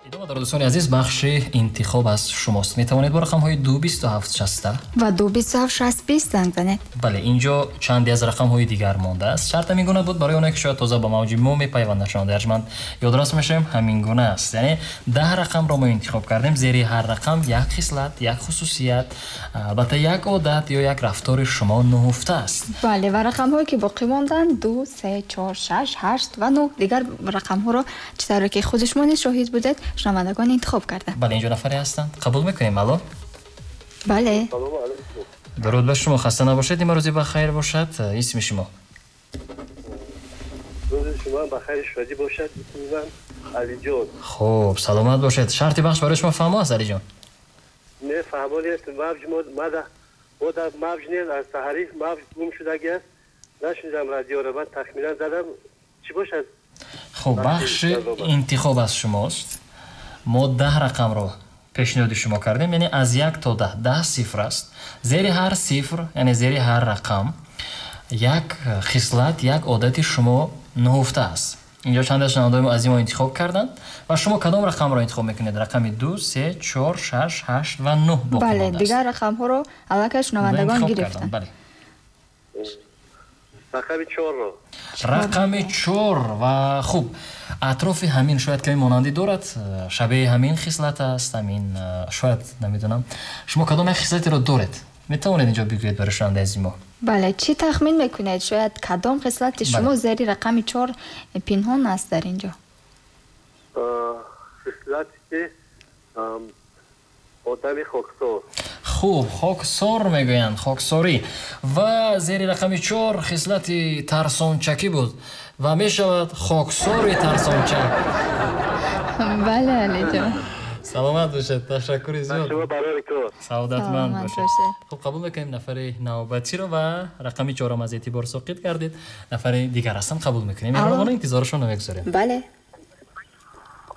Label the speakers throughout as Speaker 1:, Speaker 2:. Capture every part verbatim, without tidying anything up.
Speaker 1: Идома дорад, дӯстони азиз, бахши интихоб аз шумост. Метавонед бо рақамҳои ду бисту ҳафт шаста
Speaker 2: ва ду бисту ҳафт шаст бист занг занед.
Speaker 1: Бале, инҷо чанде аз рақамҳои дигар мондааст. Шарт ҳамин гуна буд барои онҳое ки шояд тоза ба мавҷи мо мепайванданд. Шунавандаи арҷманд, ёдрас мешавем, ҳамин гуна аст. Яъне даҳ рақамро мо интихоб кардем. Зери ҳар рақам як хислат, як хусусият, албатта як одат ё як рафтори шумо нуҳуфта аст.
Speaker 2: Бале, ва рақамҳое ки боқӣ монданд ду, се, чор, шаш, ҳашт ва нӯҳ. Дигар рақамҳоро чӣ тавре ки худи шумо низ шоҳид будед, шунавандагон интихоб карданд.
Speaker 1: Бале, инҷо нафаре ҳастанд. Қабул мекунем. Алло.
Speaker 2: Бале.
Speaker 1: Дуруд ба шумо, хаста набошед, имрӯзи ба хайр бошад. Исми шумо?
Speaker 3: Рӯзи шумо ба хайр шодӣ бошад. Исми ман Алиҷон.
Speaker 1: Хуб, саломат бошед. Шарти бахш барои шумо фаҳмо аст, Алиҷон?
Speaker 3: Не, фаҳмо нест. Мавҷ мо мада мо дар мавҷ нест, аз саҳарӣ мавҷ гум шудагӣ аст. Нашунидам радиоро, ман тахминан задам. Чӣ бошад?
Speaker 1: Хуб, бахши интихоб аз шумост. Мо даҳ рақамро пешниҳоди шумо кардем, яъне аз як то даҳ, даҳ сифр аст. Зери ҳар сифр, яъне зери ҳар рақам як хислат, як одати шумо нуҳуфта аст. Инҷо чанд аз шунавандаҳои аз мо интихоб карданд ва шумо кадом рақамро интихоб мекунед? Рақами ду, се, чор, шаш, ҳашт ва нӯҳ боқӣ
Speaker 2: Бале,
Speaker 1: мондааст.
Speaker 2: Дигар рақамҳоро аллакай шунавандагон гирифтанд.
Speaker 1: Бале.
Speaker 3: Рақами чорро.
Speaker 1: Рақами чор. Ва хуб, атрофи ҳамин шояд каме монандӣ дорад, шабеҳи ҳамин хислат аст, ҳамин шояд намедонам. Шумо кадом як хислатеро доред? Метавонед инҷо бигӯед барои шунавандаи азизи мо?
Speaker 2: Бале, чӣ тахмин мекунед? Шояд кадом хислати шумо зери рақами чор пинҳон аст дар инҷо?
Speaker 3: Хислати одами хоксор.
Speaker 1: Хуб, хоксор мегӯянд, хоксорӣ. Ва зери рақами чор хислати тарсончакӣ буд ва мешавад хоксори тарсончак.
Speaker 2: Бале, Алиҷон.
Speaker 1: Саломат бошед, ташаккури зиёд. Саодатманд бошед. Хуб, қабул мекунем нафари навбатиро ва рақами чорам аз эътибор соқит кардед. Нафари дигар ҳастанд, қабул мекунем. Меҳрубона, интизорашон намегузорем.
Speaker 2: Бале.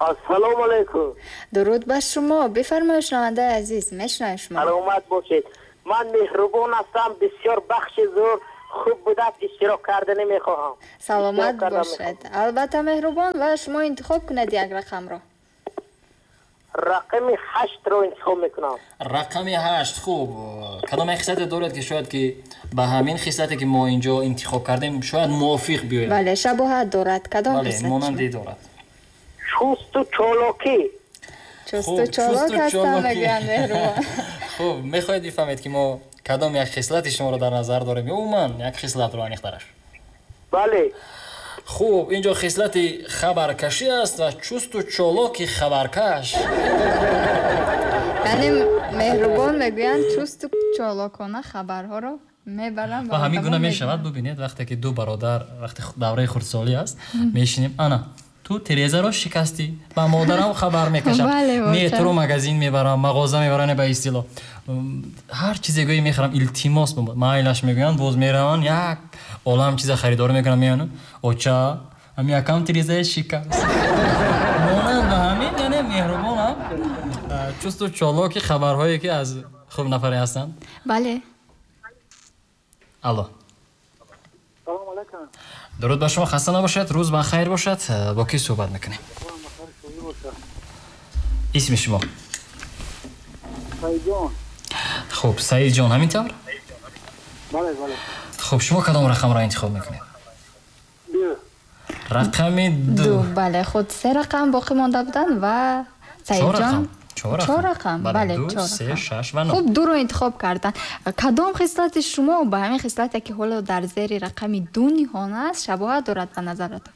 Speaker 4: Ассалому алайкум.
Speaker 2: Дуруд ба шумо. Бифармоед, шунавандаи азиз, мешунавем шумо.
Speaker 4: Саломат бошед. Ман меҳрубон ҳастам, бисёр бахши зур хуб будааст, иштирок карда намехоҳам.
Speaker 2: Саломат бошед. Албатта меҳрубон, ва шумо интихоб кунед як рақамро.
Speaker 4: Рақами ҳаштро интихоб мекунам.
Speaker 1: Рақами ҳашт. Хуб, кадом як хислате доред ки шояд ки ба ҳамин хислате ки мо инҷо интихоб кардем шояд мувофиқ биёяд?
Speaker 2: Бале, шабоҳат дорад. Кадом хислат?
Speaker 1: Бале, монандӣ дорад.
Speaker 4: Чусту чолокӣ.
Speaker 2: Чусту чолок ҳастам, мегӯянд меҳрубон.
Speaker 1: Хуб, мехоҳед бифаҳмед ки мо кадом як хислати шуморо дар назар дорем ё умуман як хислатро аниқтараш?
Speaker 4: Бале.
Speaker 1: Хуб, инҷо хислати хабаркашӣ аст ва чусту чолоки хабаркаш.
Speaker 2: Яъне меҳрубон мегӯянд чусту чолокона хабарҳоро мебарам.
Speaker 1: Ва ҳамин гуна мешавад. Бубинед, вақте ки ду бародар вақте давраи хурдсолӣ аст, мешинем, ана ту терезаро шикастӣ, ба модарам хабар мекашам, не туро магазин мебарам, мағоза мебарам, ба истилоҳ ҳар чизе гӯӣ мехарам, илтимос майлаш мегӯянд, боз мераванд як олам чиза харидорӣ мекунам, меоянд, оча ҳамин якам терезаи шикаст. Монанд ба ҳамин, яъне меҳрубонам чусту чолоки хабарҳое ки аз хуб нафаре ҳастанд.
Speaker 2: Бале.
Speaker 1: Алло. Дуруд ба шумо, хаста набошед, рӯз ба хайр бошад. Бо кӣ суҳбат мекунем? Исми шумо?
Speaker 4: Саидҷон.
Speaker 1: Хуб, Саидҷон, ҳамин тавр?
Speaker 4: Бале, бале.
Speaker 1: Хуб, шумо кадом рақамро интихоб мекунед?
Speaker 4: Ду.
Speaker 1: Рақами ду.
Speaker 2: Бале, худ се рақам боқӣ монда буданд ва Саидҷон чор рақам. Бале,
Speaker 1: ду, се, шаш ва нӯҳ.
Speaker 2: Хуб, дуро интихоб карданд. Кадом хислати шумо ба ҳамин хислате ки ҳоло дар зери рақами ду ниҳон аст шабоҳат дорад ба назаратон?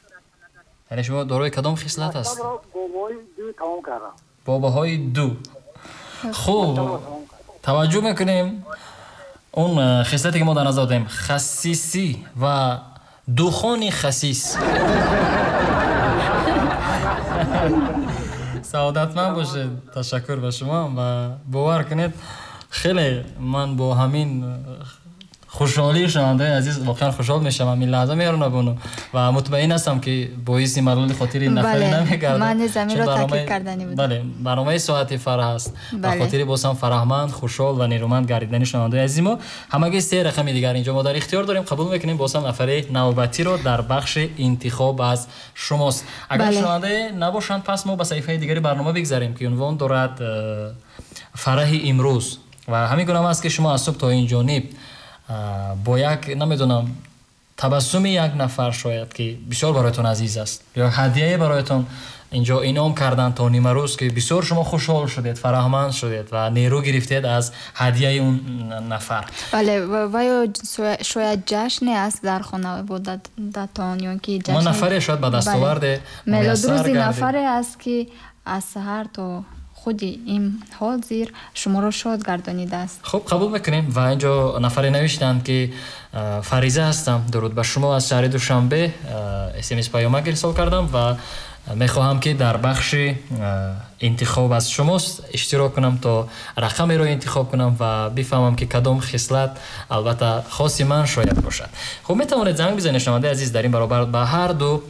Speaker 1: Яъне шумо дорои кадом хислат аст?
Speaker 4: Бо баҳои ду тамом кардам.
Speaker 1: Бо баҳои ду. Хуб, таваҷҷӯҳ мекунем. Он хислате ки мо дар назар дорем, хасисӣ ва духони хасис. Саодатманд бошед, ташаккур ба шумо ва бовар кунед, хеле ман бо ҳамин Хушҳолии шунавандаи азиз воқеан хушҳол мешавам ин лаҳза меҳрунабону ва мутмаин ҳастам ки боиси малоли хотири нафаре намегардад.
Speaker 2: Ман низ ҳаминро таъкид кардани будам.
Speaker 1: Бале, барномаи соати фараҳ аст. Ба хотири боз ҳам фараҳманд, хушҳол ва нерӯманд гардидани шунавандаи азизи мо ҳамагӣ се рақами дигар инҷо мо дар ихтиёр дорем. Қабул мекунем боз ҳам нафари навбатиро дар бахши интихоб аз шумост. Агар шунавандае набошанд, пас мо ба саҳифаи дигари барнома бигзарем ки унвон дорад фараҳи имрӯз. Ва ҳамин гуна аст ки шумо аз субҳ то ин ҷониб бо як намедонам табассуми як нафар шояд ки бисёр бароятон азиз аст ё ҳадияе бароятон инҷо инъом карданд то нимарӯз ки бисёр шумо хушҳол шудед, фараҳманд шудед ва нерӯ гирифтед аз ҳадияи он нафар.
Speaker 2: Бале, ва ё шояд ҷашне аст дар хонаводатон ё ки ҷашн
Speaker 1: мо нафаре шояд ба дастоварде
Speaker 2: мелодрӯзи нафаре аст ки аз саҳар то худи ин ҳозир шуморо шод гардонидааст.
Speaker 1: Хуб, қабул мекунем. Ва инҷо нафаре навиштанд ки Фариза ҳастам, дуруд ба шумо аз шаҳри Душанбе, смс паёмак ирсол кардам ва мехоҳам ки дар бахши интихоб аз шумост иштирок кунам то рақамеро интихоб кунам ва бифаҳмам ки кадом хислат албатта хоси ман шояд бошад. Хуб, метавонед занг бизанед шунавандаи азиз дар ин баробар ба ҳар ду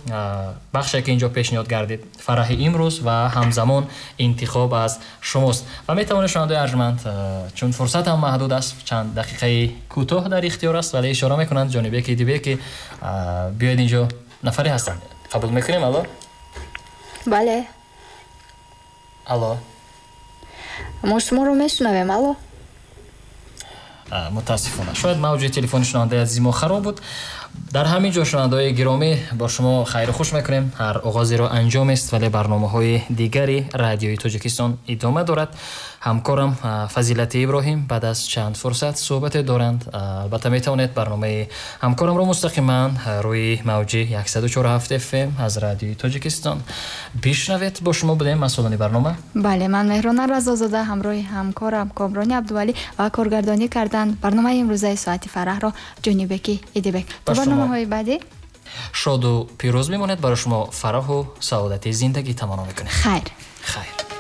Speaker 1: бахше ки инҷо пешниҳод гардид, фараҳи имрӯз ва ҳамзамон интихоб аз шумост. Ва метавонед шунавандаи арҷманд, чун фурсат ҳам маҳдуд аст, чанд дақиқаи кӯтоҳ дар ихтиёр аст, вале ишора мекунанд ҷонибеки дибеки биёед инҷо нафаре ҳастанд. Қабул мекунем. Алло.
Speaker 2: Бале.
Speaker 1: Алло.
Speaker 2: Мо шуморо мешунавем. Алло.
Speaker 1: Мутаассифона шояд мавҷи телефони шунавандаи азизи мо хароб буд. Дар ҳамин ҷо шунавандаҳои гиромӣ бо шумо хайру хуш мекунем. Ҳар оғозеро анҷом аст, вале барномаҳои дигари радиои Тоҷикистон идома дорад. Ҳамкорам Фазилати Иброҳим баъд аз чанд фурсат суҳбате доранд. Албатта метавонед барномаи ҳамкорамро мустақиман рӯи мавҷи яксаду чору ҳафт эф эм аз радиои Тоҷикистон бишнавед. Бо шумо будем масъулони барнома.
Speaker 2: Бале, ман Меҳрона Разозода ҳамроҳи ҳамкорам Комрони Абдувалӣ ва коргардонӣ кардан барномаи имрӯзаи соати фараҳро Ҷонибеки Идибек. То барномаҳои баъдӣ
Speaker 1: шоду пирӯз мемонед. Барои шумо фараҳу саодати зиндагӣ таманно мекунем.
Speaker 2: Хайр.
Speaker 1: Хайр.